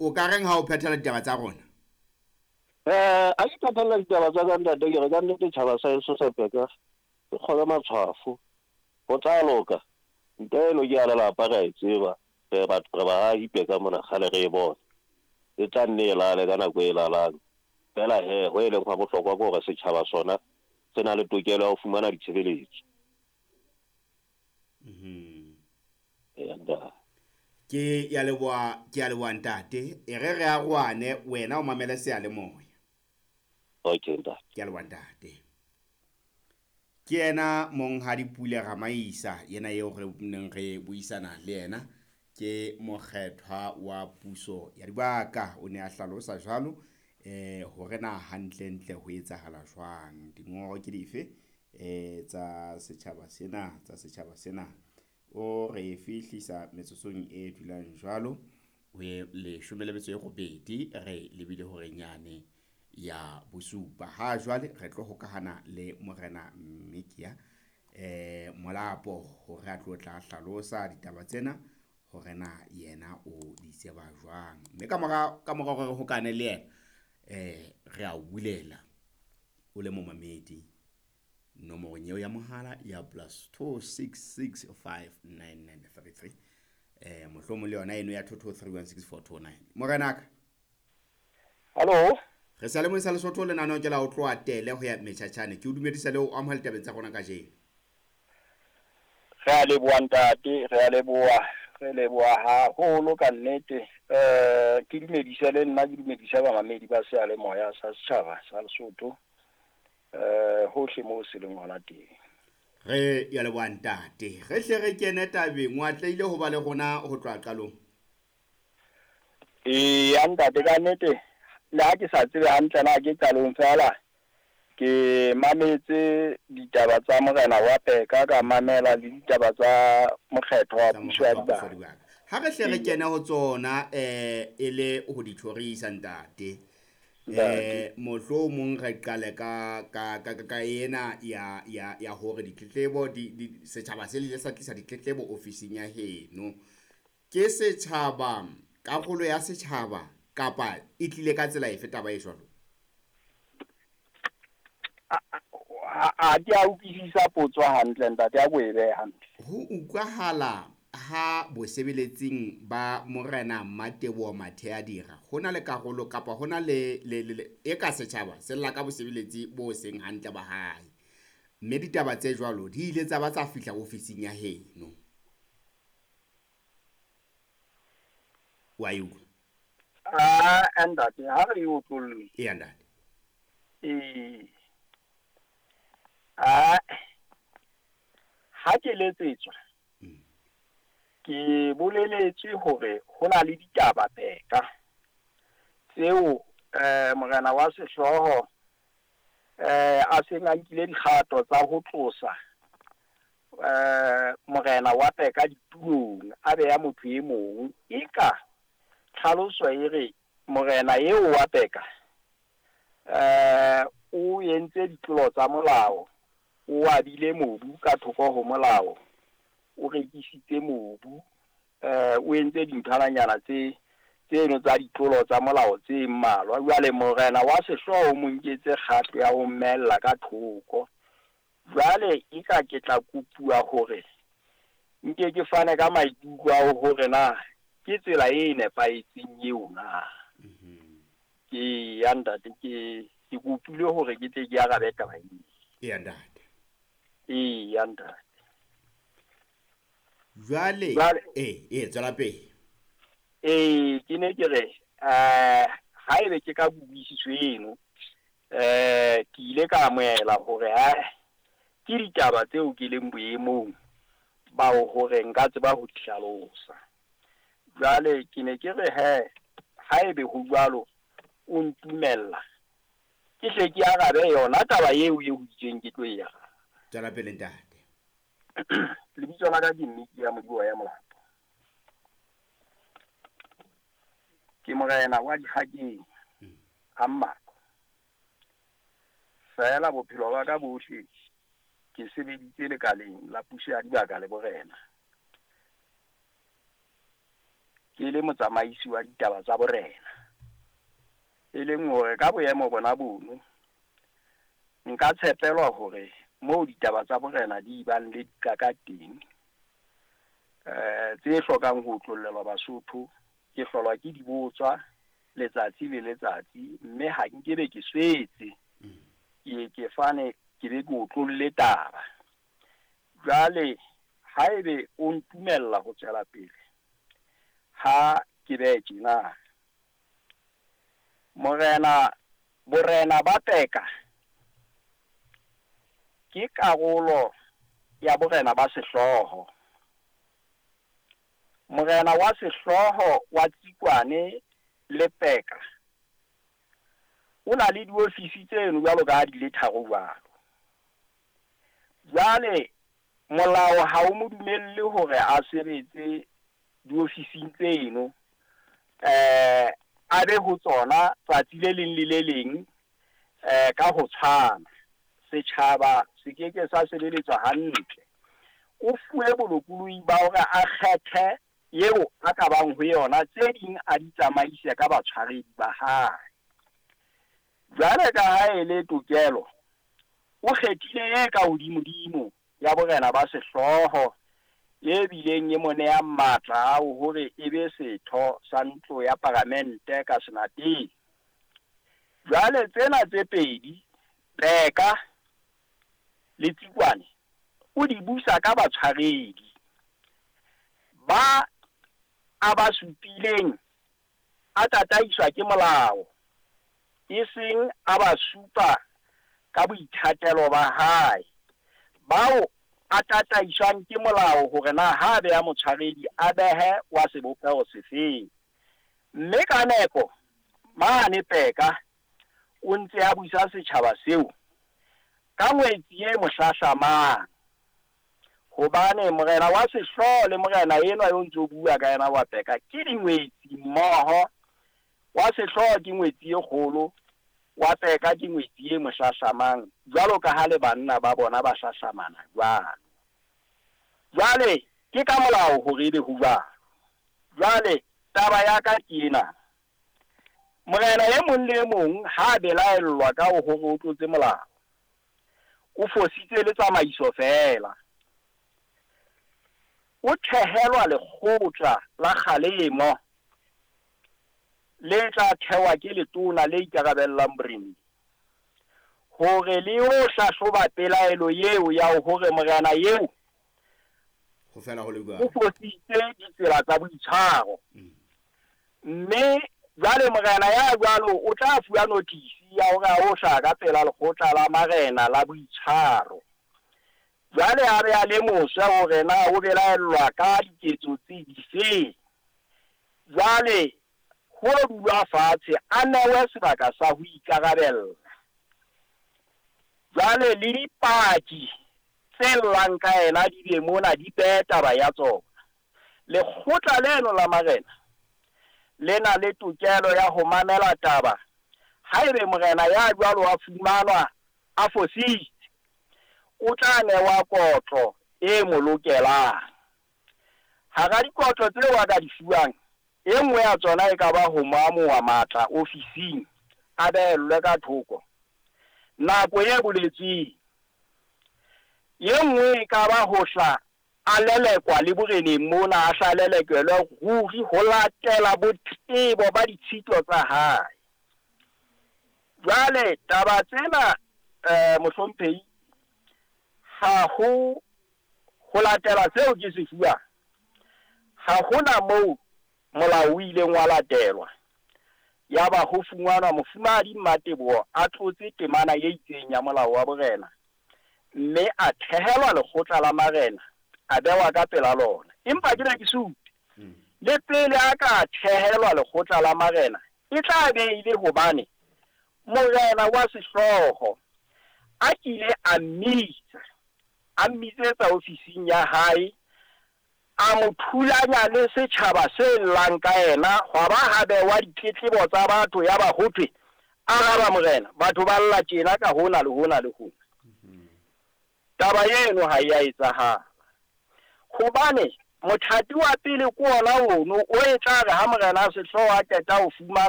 O ka reng ha o phethela ditaba tsa rona? A ke phethela ditaba tsa ka ntate, ke re ka nnete tjhaba sa heso sa Peka se kgobe matshwafo. Ho tla loka. Ntwa eno ke ya lelapa re a e tseba. Re batho re baahi Peka mona kgale re e bona. E tla nne e lale ka nako e lalang. Feela he, ho e leng hwa bohlokwa ke hore setjhaba sona se na le tokelo ya ho fumana ditshebeletso. Eya ntate. Ke ya leboha, ke ya leboha ntate. E re re arohane, wena o mamele seyalemoya. Okay ntate. Ke ya leboha ntate. Ke yena Monghadi Pule Ramaisa, yena eo re neng re buisana le yena, ke mokgethwa wa puso ya dibaka. O ne a hlalosa jwalo hore na hantlentle ho etsahala jwang, dingongoro ke dife tsa setjhaba sena, tsa setjhaba sena. O re fihlisa metsotsong e dulang jwalo ho e 18 re lebile horeng yane ya bosupa. Ha jwale re tlo hokahana le Morena Mmikia Molapo hore a tlo tla hlalosa ditaba tsena hore na yena o di tseba jwang. Mme ka mora hore re hokane le yena re a o bulela o le momamedi nomorong eo ya mohala ya +266 59933 mohlomong le yona eno ya 22316429. Morenaka. Hallo. Re sa le moisa Lesotho lenaneo ke la ho tloha tele ho ya Metjhatjhane. Ke o dumedisa le ho amohela ditabeng tsa rona kajeno. Re a leboha ntate, re a leboha, re leboha haholo ka nnete. Ke dumedise le nna, ke dumedise bamamedi ba seyalemoya sa setjhaba sa Lesotho. Hohle moo se leng hona teng. Re ya leboha ntate. Re hle re kene tabeng, o atlehile ho ba le rona ho tloha qalong. Eya ntate, ka nnete le ha ke sa tsebe hantle na ke qalong feela, ke mametse ditaba tsa morena wa Peka, ka mamela le ditaba tsa mokgetho wa puso ya dibaka. Ha re hle re kene ho tsona e le ho di thorisa ntate. Mohlomong re qale ka ka ka ka ena ya ya ya hore ditletlebo di setjhaba se ile sa tlisa ditletlebo ofising ya heno. Ke setjhaba, karolo ya setjhaba kapa e tlile ka tsela efe taba e jwalo? A ke a utlwisisa potso hantle ntate, a ko e behe hantle. Ho utlwahala ha bosebeletsing ba Morena Mmateboho Matheadira ho na le karolo kapa ho na le e ka setjhaba se lla ka bosebeletsi bo seng hantle ba hae. Mme ditaba tse jwalo di ile tsa ba tsa fihla ofising ya heno. Wa e utlwa? Ah, ntate, ha re e otlolle. Eya ntate. Ah, ha ke letsetswa, ke boleletswe hore ho na le ditaba Peka tseo morena wa sehlooho a seng a nkile dikgato tsa ho tlosa morena wa Peka ditulong, a beha motho e mong. Eka tlhaloso e re morena eo wa Peka o entse ditlolo tsa molao, o abile mobu ka thoko ho molao, o rekisitse mobu, o entse dinthwananyana tse tseno tsa ditlolo tsa molao tse mmalwa. Jwale morena wa sehlooho o mo nketse kgato ya ho mmella ka thoko. Jwale eka ke tla kopuwa hore nke ke fane ka maikutlo a hore na ke tsela e nepahetseng eo na. Ke ya ntate, ke kopile hore ke tle ke arabe taba eo. Eya ntate. Eya ntate. Jwale tswela pele. Ke ne ke re haebe ke ka kutlwisiso eno, ke ile ka amohela hore ke ditaba tseo ke leng boemong ba hore nka tseba ho di hlalosa. Jwale ke ne ke re he, haebe ho jwalo o ntumella ke hle ke arabe yona taba eo e itseng ke tlo e araba. Tswela pele ntate. Lebitso la ka ke Mmikia Modibo ya Molapo. Ke morena wa Dikgakeng a Mmako. Feela bophelo ba ka bohle ke sebeditse lekaleng la puso ya dibaka le borena. Ke le motsamaisi wa ditaba tsa borena. E leng hore ka boemo bona bono nka tshepelwa hore moo ditaba tsa borena di bang le dikaka teng, tse hlokang ho otlollelwa Basotho, ke hlolwa ke di botswa letsatsi le letsatsi, mme ha nkebe ke swetse, ke fane ke be ke otlolle taba. Jwale haebe o ntumella ho tswela pele, ha ke behe tjena, morena, borena ba Peka ke karolo ya borena ba sehlooho. Morena wa sehlooho wa Tsikwane le Peka o na le diofisi tseno jwalo ka ha di le tharo jwalo. Jwale molao ha o mo dumelle hore a sebetse diofising tseno, a be ho tsona tsatsi le leng le le leng, ka ho tshwana. Setjhaba se keke sa sebeletswa hantle. O fuwe bolokolohi ba hore a kgethe eo a ka bang ho yona, tse ding a di tsamaise ka batshwaredi ba hae. Jwale ka ha e le tokelo, o kgethile e ka hodimodimo ya borena ba sehlooho, e bileng e mo nehang matla a hore e be setho sa ntlo ya paramente ka senateng. Jwale tsena tse pedi, Peka le Tsikwane, o di busa ka batshwaredi ba a ba supileng, a tataiswa ke molao, e seng a ba supa ka boithatelo ba hae. Bao a tataiswang ke molao hore na ha beha motshwaredi a behe wa sebopeho sefeng. Mme ka nepo mane Peka o ntse a busa setjhaba seo ka ngwetsi e mohlahlamang, hobane morena wa sehlooho le morena enwa yo ntso bua ka yena wa Peka ke dingwetsi mmoho. Wa sehlooho ke ngwetsi e kgolo, wa Peka ke ngwetsi e mohlahlamang, jwalo ka ha le banna ba bona ba hlahlamana jwalo. Jwale ke ka molao hore ebe ho jwalo. Jwale taba ya ka ke ena, morena e mong le e mong ha belaellwa ka hore o tlotse molao, o fositse le tsamaiso feela, o thehelwa lekgotla la kgalemo le tla thewa ke letona le ikarabellang boreneng, hore le yo hlahloba pelaelo eo ya hore morena eo ho fela ho le jwalo o fositse ditsela tsa boitshwaro. Mme jwale morena ya jwalo o tla fuwa notice ya hore a o hlaha ka pela lekgotla la marena la boitshwaro. Jwale a be a lemoswe hore na o belaellwa ka diketso tse difeng. Jwale ho dulwa fatshe, a newe sebaka sa ho ikarabella. Jwale le dipaki tse llang ka yena di be mona di behe taba ya tsona. Lekgotla leno la marena le na le tokelo ya ho mamela taba. Haebe morena ya jwalo a fumanwa a fositse, o tla newa kotlo e mo lokelang. Hara dikotlo tseo a ka di fuwang, e nngwe ya tsona e ka ba ho mo amoha matla ofising, a behellwe ka thoko nako e boletsweng. E nngwe e ka ba ho hla a lelekwa le boreneng mona, a hla lelekelwe ruri ho latela botebo ba ditshito tsa hae. Jwale taba tsena, mohlomphehi, ha ho latela seo ke se fuwang, ha hona moo molao o ileng wa latelwa. Ya ba ho fumanwa mofumahadi Mmateboho a tlotse temana e itseng ya molao wa borena, mme a thehelwa lekgotla la marena, a bewa ka pela lona. Empa ke ne ke supe, le pele a ka thehelwa lekgotla la marena, e tla be e le hobane morena wa sehlooho a kile a mmitsa, a mmitsetsa ofising ya hae, a mo thulanya le setjhaba se llang ka yena, hwa ba ha bewa ditletlebo tsa batho, ya ba ho thwe araba morena, batho ba lla tjena ka hona le hona le hona. Taba eno ha e a etsahala, hobane Mothati wa pele ke ona ono o e tla re ha morena a sehlooho a qeta ho fumana